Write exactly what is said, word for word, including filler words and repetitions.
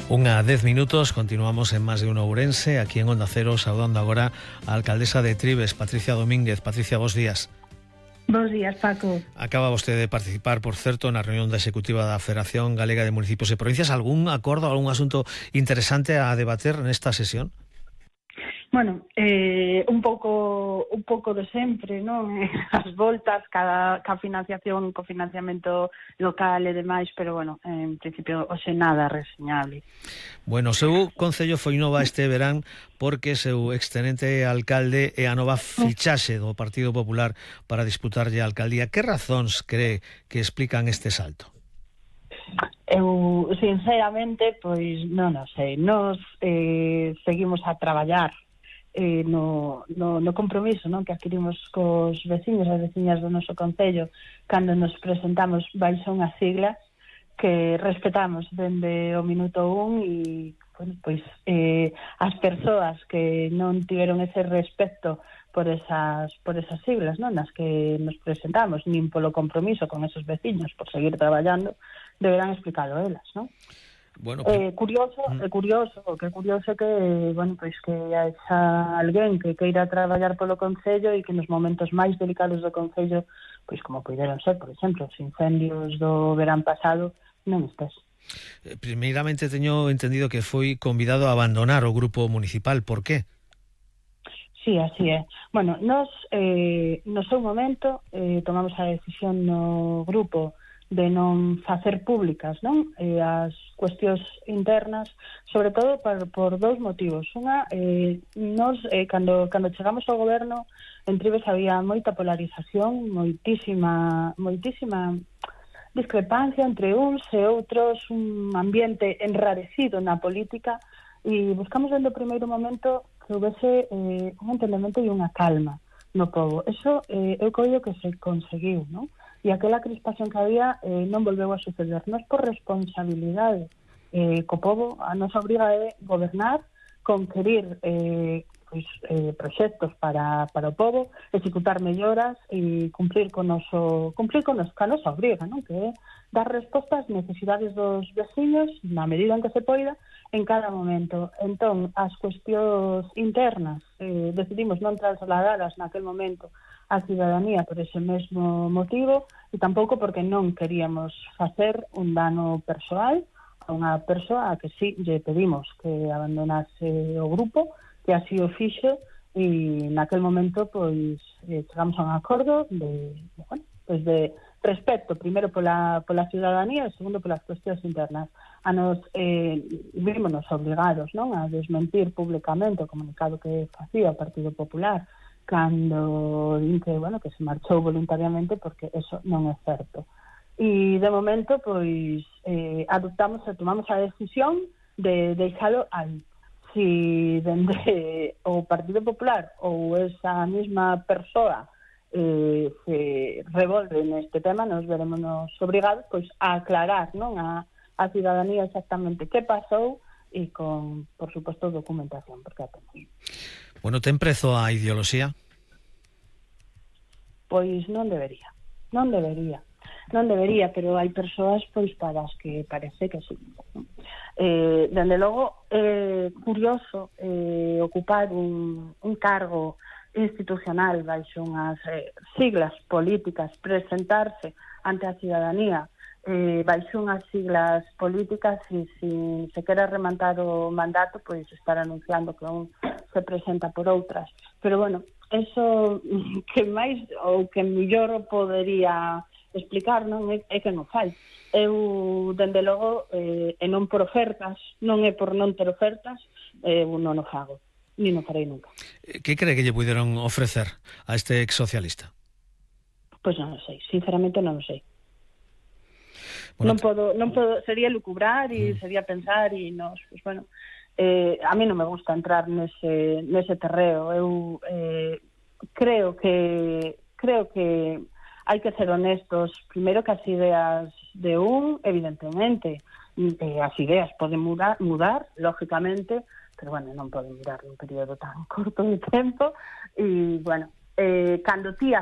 Unha dez minutos, continuamos en Más de Uno Ourense, aquí en Onda Cero, saudando agora a alcaldesa de Trives, Patricia Domínguez. Patricia, bos días. Bos días, Paco. Acaba vostede de participar, por certo, na reunión da Executiva da Federación Galega de Municipios e Provincias. Algún acordo, algún asunto interesante a debater nesta sesión? Bueno, eh, un pouco un pouco de sempre, non? As voltas, cada, cada financiación, cofinanciamento local e demais, pero, bueno, en principio, hoxe nada reseñable. Bueno, o seu concello foi nova este verán porque seu extenente alcalde é a nova fichaxe do Partido Popular para disputarlle a alcaldía. Que razóns cree que explican este salto? Eu, sinceramente, pois non o sei. Nos eh, seguimos a traballar Eh, no, no, no compromiso, non, que adquirimos cos veciños e veciñas do noso concello cando nos presentamos baixo unha sigla que respetamos dende o minuto un e, bueno, pois eh, as persoas que non tiveron ese respeto por esas por esas siglas, non, nas que nos presentamos, nin polo compromiso con esos veciños por seguir traballando, deberán explicalo elas, non? Bueno, eh, curioso, é eh, curioso, que curioso que, bueno, pois que haxa alguén que queira traballar polo concello e que nos momentos máis delicados do concello, pois como puderon ser, por exemplo, os incendios do verán pasado, non estés. Primeiramente teño entendido que foi convidado a abandonar o grupo municipal. Por qué? Sí, así é. Bueno, nos eh, no seu momento eh, tomamos a decisión no grupo de non facer públicas, non, eh, as cuestións internas, sobre todo por, por dous motivos. Unha, eh, nos, eh, cando, cando chegamos ao goberno, en Trives había moita polarización, moitísima, moitísima discrepancia entre uns e outros, un ambiente enrarecido na política, e buscamos dende o primeiro momento que houvese eh, un entendemento e unha calma no povo. Eso eh, eu creo que se conseguiu, non? E aquela crispación que había eh, non volveu a suceder. Nos por responsabilidade eh, co povo, a nosa obriga é gobernar, conquerir eh, pois, eh, proxectos para, para o povo, executar melloras e cumplir con noso, cumplir con nos, ca nosa obriga, non? Que é dar resposta ás necesidades dos veciños na medida en que se poida en cada momento. Entón, as cuestións internas eh, decidimos non trasladadas naquel momento a cidadanía por ese mesmo motivo e tampouco porque non queríamos facer un dano persoal a unha persoa a que sí lle pedimos que abandonase o grupo, que así o fixo, e naquel momento pois eh, chegamos a un acordo de, de, bueno, pois de respeto, primeiro pola, pola ciudadanía e segundo polas cuestións internas. A nos eh, vímonos obligados, non, a desmentir públicamente o comunicado que facía o Partido Popular cando din que, bueno, que se marchou voluntariamente, porque eso non é certo. E de momento, pois, eh, adoptamos e tomamos a decisión de deixalo aí. Si dende o Partido Popular ou esa mesma persoa eh, se revolve neste tema, nos veremos obrigados pois, a aclarar, non, a, a ciudadanía exactamente que pasou e con, por suposto, documentación, porque a temos. Bueno, ten prezo a ideoloxía? Pois non debería, non debería, non debería, pero hai persoas pois para as que parece que sí. Eh, dende logo, é eh, curioso eh, ocupar un, un cargo institucional baixo unhas eh, siglas políticas, presentarse ante a ciudadanía eh, baixo unhas siglas políticas e se se quere rematar o mandato, pois estar anunciando que un se presenta por outras. Pero, bueno, eso que máis ou que mellor podería explicar, non, é, é que non fai. Eu, dende logo, eh, e non por ofertas, non é por non ter ofertas, eu non o fago, nin o farei nunca. Que cree que lle puderon ofrecer a este ex socialista? Pois non o sei, sinceramente non o sei. Bueno, non podo, non podo, sería lucubrar e mm. sería pensar e nos, pues bueno, eh, a mí non me gusta entrar nese nese terreo. Eu eh, creo que creo que hai que ser honestos, primeiro que as ideas de un, evidentemente, eh, as ideas poden mudar, mudar, lógicamente, pero bueno, non poden mudar nun período tan corto de tempo e, bueno, eh, cando ti